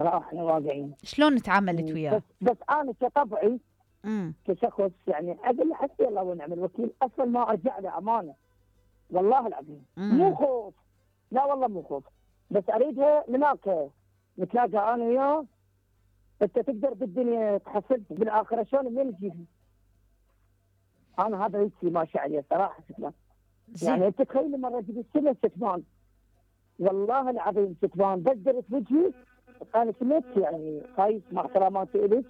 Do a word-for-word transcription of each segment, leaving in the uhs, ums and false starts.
صراحه احنا واقعين. شلون تعاملت مم. وياه؟ بس بس انا كطبعي امم كشخص يعني اقول له حسبي الله ونعم الوكيل، اصلا ما ارجع له امانه. والله العظيم مو امم خوف، لا والله مو خوف، بس اريدها هناك نتلاقى انا وياه. انت تقدر بالدنيا تحصل بالاخره شلون منين تجيبها؟ انا هذا هيك ماشي عليه صراحه ستمان. زين. يعني انت تخيل مره جبت سنه ستمان، والله العظيم ستمان بدرت وجهي. انا كنت يعني خايف مع احتراماتي الك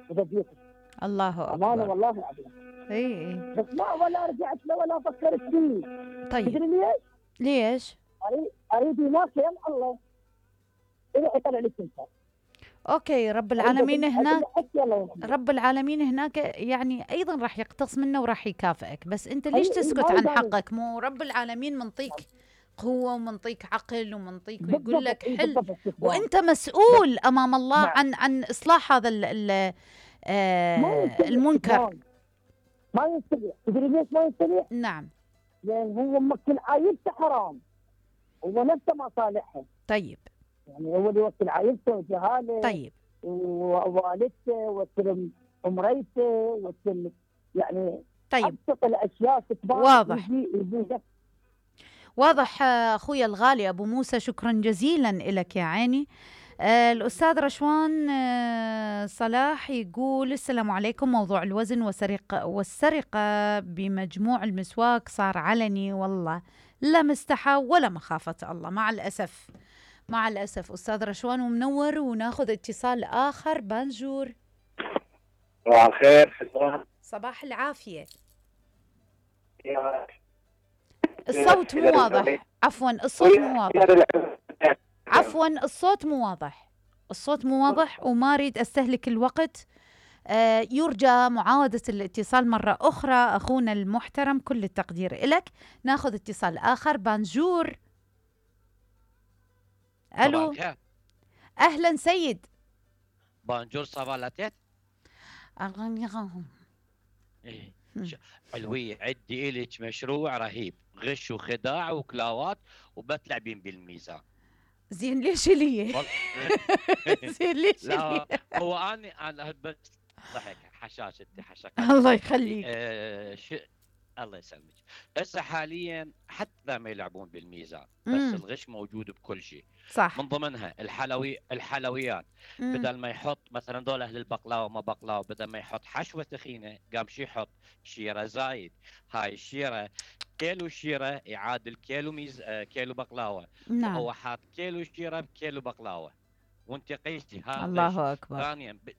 وبديتك الله امانه اكبر. والله العظيم. اي اي. بس ما ولا رجعت له ولا فكرت فيه. طيب تدري ليش؟ ليش؟ اريد اريد هناك يم الله يروح يطلع لك انت. اوكي، رب اريد العالمين اقول اقول له هناك. حسبي الله ونعم الوكيل. رب العالمين هناك يعني ايضا راح يقتص منه وراح يكافئك، بس انت اي ليش اي تسكت ما عن يبالي. حقك؟ مو رب العالمين منطيك قوة ومنطيك عقل ومنطيك ويقول بالضبط لك اي حل، بالضبط ستمان. وانت بس مسؤول امام الله نعم عن عن اصلاح هذا ال ال ما آه يستطيع المنكر. ستمان، ما يستطيع. تدري ليش ما يستطيع؟ نعم. لان هو موكل عائلته حرام، هو نفسه ما صالحها. طيب. يعني هو اللي يوكل عائلته وجهاله طيب. ووالدته وكل مريته وكل يعني طيب. ابسط الاشياء ستمان واضح. يجي يجي. واضح آه، اخوي الغالي ابو موسى، شكرا جزيلا لك يا عيني. آه، الأستاذ رشوان آه، صلاح يقول السلام عليكم. موضوع الوزن وسرقة والسرقة بمجموع المسواك صار علني، والله لا مستحى ولا مخافة الله، مع الأسف. مع الأسف أستاذ رشوان، ومنور. وناخذ اتصال آخر. بانجور. صباح الخير. شكرا. صباح العافية. يا الصوت مو واضح، عفوا الصوت مو واضح، عفوا الصوت مو واضح، الصوت مو واضح وما أريد أستهلك الوقت. آه، يرجى معاودة الاتصال مرة أخرى أخونا المحترم، كل التقدير إلك. ناخذ اتصال آخر. بانجور. ألو. أهلا سيد. بانجور صبالتت. إيه. علوية عدي إلك مشروع رهيب، غش وخداع وكلاوات وبتلعبين بالميزان. زين ليش لي؟ زين ليش لا هو أنا أنا بس ضحك حشاش انت حشاك. الله يخليك. آه ش... الله يسلمك. هسه حاليا حتى ما يلعبون بالميزان، بس مم. الغش موجود بكل شيء. صح. من ضمنها الحلوي الحلويات. مم. بدل ما يحط مثلا دول اهل البقلاوه ما بقلاوه، بدل ما يحط حشوه ثخينه قام شي يحط شيره زايد. هاي الشيره كيلو شيره يعادل كيلو ميز آه كيلو بقلاوه. نعم. وهو حاط كيلو شيره بكيلو بقلاوه، وانت قيستي هذا. الله اكبر. ثانيا ب...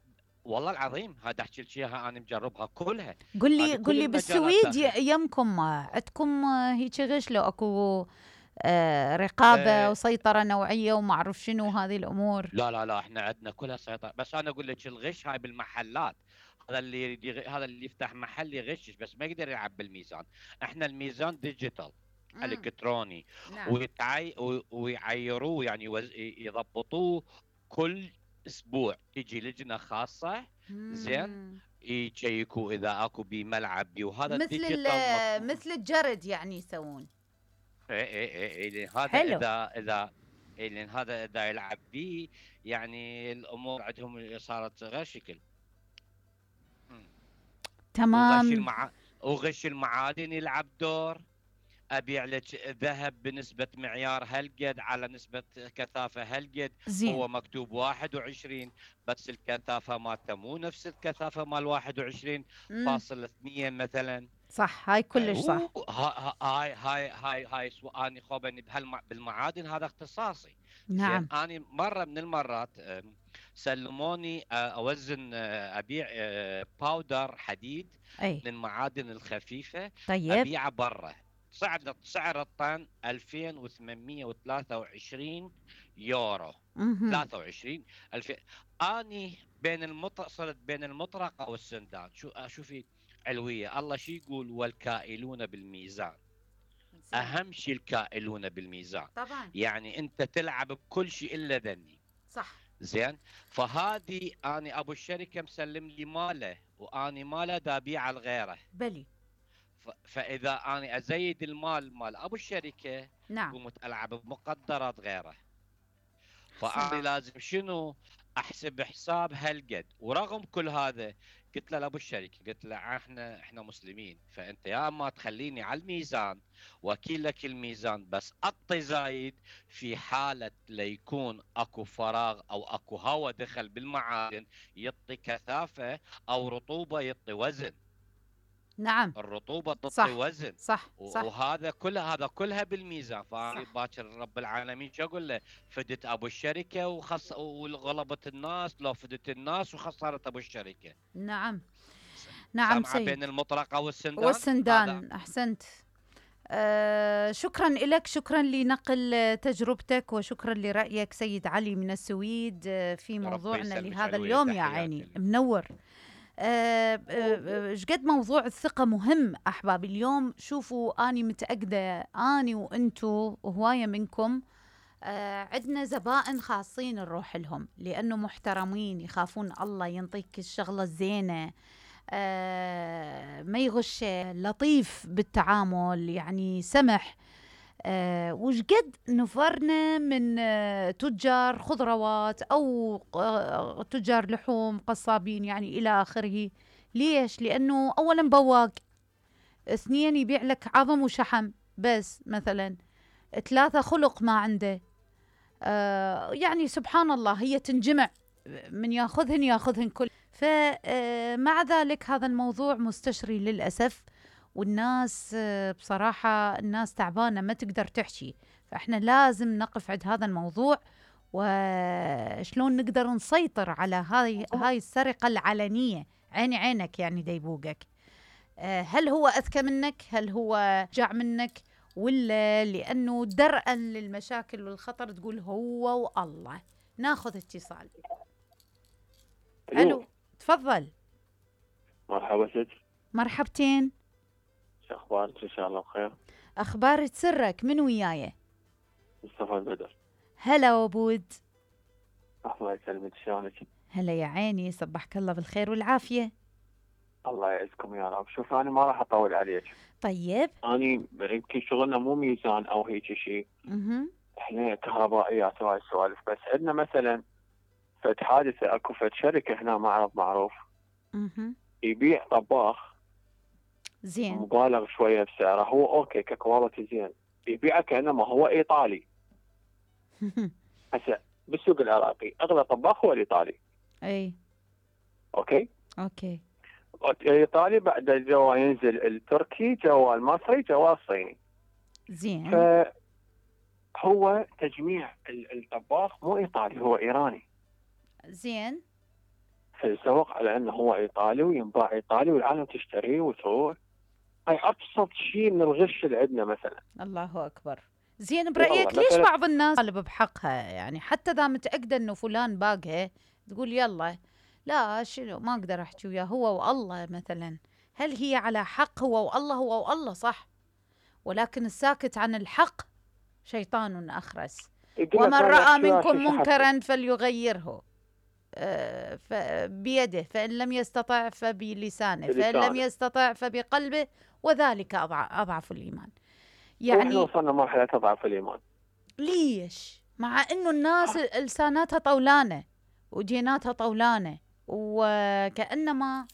والله العظيم هذا احكي لك اياها انا مجربها كلها. قل لي كل قل لي بالسويد داخل. يمكم عندكم هيك غش؟ لو اكو آه رقابه آه وسيطره نوعيه وما اعرف شنو هذه الامور؟ لا لا لا احنا عندنا كلها سيطره، بس انا اقول لك الغش هاي بالمحلات. هذا اللي يريد يغ... هذا اللي يفتح محل يغشش، بس ما يقدر يلعب بالميزان. احنا الميزان ديجيتال الكتروني. نعم. ويتعي... ويعيروه يعني وز... يضبطوه كل اسبوع. تجي لجنه خاصه زين يشيكوا اذا اكو بملعب بي، وهذا مثل الديجيتال مثل الجرد يعني يسوون. اي اي اي هذا حلو. اذا اذا اي لان هذا اذا يلعب بيه يعني الامور عندهم صارت غير شكل. تمام. وغش المع... وغش المعادن يلعب دور. ابيع لك ذهب بنسبه معيار هالقد على نسبه كثافه هالقد. زين. هو مكتوب واحد وعشرين بس الكثافه مالته مو نفس الكثافه مال واحد وعشرين فاصل اثنين مثلا. صح. هاي كلش صح. هاي هاي هاي هاي سؤالي خوبني بهالم... بالمعادن هذا اختصاصي. نعم. زين انا مره من المرات سلموني اوزن ابيع باودر حديد. أي. للمعادن الخفيفه. طيب. ابيعه برا. سعر سعر الطن ألفين وثمانمئة وثلاثة وعشرين يورو. مم. ثلاثة وعشرين ألف. اني بين المط صرت بين المطرقه والسندان. شو شوفي علويه الله شو يقول والكائلون بالميزان. زين. اهم شيء الكائلون بالميزان طبعا. يعني انت تلعب بكل شيء الا ذني. صح. زين. فهذه اني ابو الشركه مسلم لي ماله واني ماله دابيع لغيره. بلي. فاذا اني ازيد المال مال ابو الشركه نعم قمت العب بمقدرات غيره. فأنا لازم شنو احسب حساب هالقد. ورغم كل هذا قلت له لابو الشركه، قلت له احنا احنا مسلمين، فانت يا اما تخليني على الميزان واكيل لك الميزان بس اطي زايد في حاله ليكون اكو فراغ او اكو هواء دخل بالمعادن يعطي كثافه، او رطوبه يعطي وزن. نعم الرطوبه تعطي صح وزن، صح و- صح وهذا كلها هذا كلها بالميزان. فانا صح باكر رب العالمين شو اقول له؟ فدت ابو الشركه وخص وغلبت الناس، لو فدت الناس وخسرت ابو الشركه. نعم س- نعم سامعه بين سيد. المطرقه والسندان هذا. والسندان أحسنت. آه شكرا لك، شكرا لنقل تجربتك، وشكرا لرأيك سيد علي من السويد آه في ربي موضوعنا يسلمك لهذا علوية، اليوم. يا تحياتي عيني لك. منور. آه، آه، ايش قد موضوع الثقة مهم أحبابي اليوم. شوفوا أني متأكدة أني وأنتو وهواية منكم آه، عندنا زبائن خاصين نروح لهم لأنه محترمين، يخافون الله، ينطيك الشغلة الزينة، آه، ما يغش، لطيف بالتعامل، يعني سمح. آه، وش قد نفرنا من آه، تجار خضروات أو آه، تجار لحوم، قصابين يعني إلى آخره. ليش؟ لأنه أولا بواق، اثنين يبيع لك عظم وشحم بس مثلا، ثلاثة خلق ما عنده. آه يعني سبحان الله، هي تنجمع، من ياخذهن ياخذهن كل. فمع ذلك هذا الموضوع مستشري للأسف، والناس آه بصراحة الناس تعبانة ما تقدر تحكي. فإحنا لازم نقف عند هذا الموضوع، وشلون نقدر نسيطر على هاي هاي السرقة العلنية. عيني عينك يعني ديبوقك. آه هل هو أذكى منك؟ هل هو جاع منك؟ ولا لأنه درءا للمشاكل والخطر تقول هو والله؟ ناخذ اتصال. ألو، تفضل. مرحبا ست، مرحبتين. شو اخبارك؟ ان شاء الله بخير. أخبار سرك من وياي؟ مصطفى البدر. هلا وابود. الله يسلمك، شلونك؟ هلا يا عيني، صبحك الله بالخير والعافية. الله يعزكم يا رب. شوف انا ما راح اطول عليك. طيب. انا يمكن شغلنا مو ميزان او هيك شيء، اها. احنا كهربائيات وهاي السوالف، بس عندنا مثلا فد حادثه، اكو فد شركه هنا معرض معروف اها. يبيع طباخ زين. مبالغ شويه بسعره، هو اوكي ككواليتي زين، يبيعه كانما هو ايطالي. هسه بالسوق العراقي اغلى طباخ هو الايطالي. اي. اوكي اوكي. الايطالي بعد جوا ينزل التركي، جوا المصري، جوا الصيني. زين. فهو تجميع ال- الطباخ مو ايطالي، هو ايراني. زين. فيسوق على انه هو ايطالي وينباع ايطالي والعالم تشتريه وتروح. هاي ابسط شيء من الغش اللي عندنا مثلا. الله اكبر. زين، برايك والله ليش مثلاً- بعض الناس طالب بحقها؟ يعني حتى اذا متاكده انه فلان باقها تقول يلا، لا شنو ما اقدر احكي وياه، هو والله مثلا. هل هي على حق؟ هو والله، هو والله صح، ولكن الساكت عن الحق شيطان اخرس. يقول لك ومن أنا راى شو- منكم شو- شو منكرا فليغيره آه، ف- بيده، فإن لم يستطع فبلسانه، فإن لم بلسانه. يستطع فبقلبه، وذلك أضع- أضعف الإيمان. واحنا يعني وصلنا مرحله تضعف الايمان. ليش؟ مع إنه الناس لساناتها طولانة وديناتها طولانة، وكأنما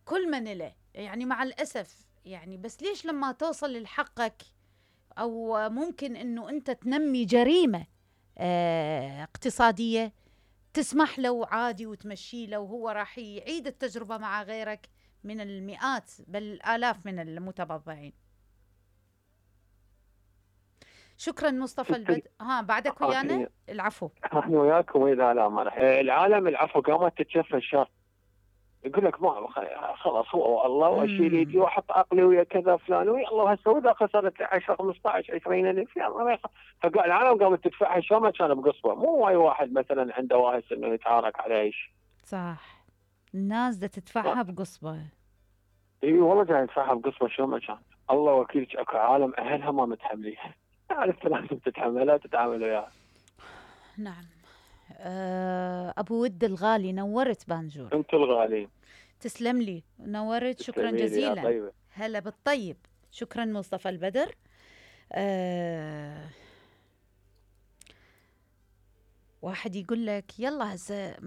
كل من له، يعني مع الأسف يعني. بس ليش لما توصل لحقك، أو ممكن إنه أنت تنمي جريمة آه، اقتصادية، تسمح له عادي وتمشي له، وهو راح يعيد التجربة مع غيرك من المئات بل الآلاف من المتبضعين. شكرا مصطفى البد. ها بعدك ويانا؟ العفو. احنا وياكم واذا لا ما راح العالم العفو قامت تتشفى الشر. يقول لك ما خلاص هو الله، واشيل يدي واحط عقلي ويا كذا فلان ويا الله. هسه واذا خسرت عشرة خمسطعش عشرين الف يلا ما يخ... فقال العالم قامت تدفعها شلون ما كان بقصبه. مو واي واحد مثلا عنده واهس انه يتعارك على ايش. صح، الناس دا تدفعها بقصبه. اي والله جاي يدفعها بقصبه شلون ما كان. الله وكيلك اكو عالم اهلها ما متحمليها. عرفت لازم تتحملها وتتعامل وياها. نعم. أه ابو ود الغالي، نورت بانجور. انتم الغاليين. تسلم لي، نورت، شكرا جزيلا. طيب. هلا بالطيب. شكرا مصطفى البدر. أه واحد يقول لك يلا هسه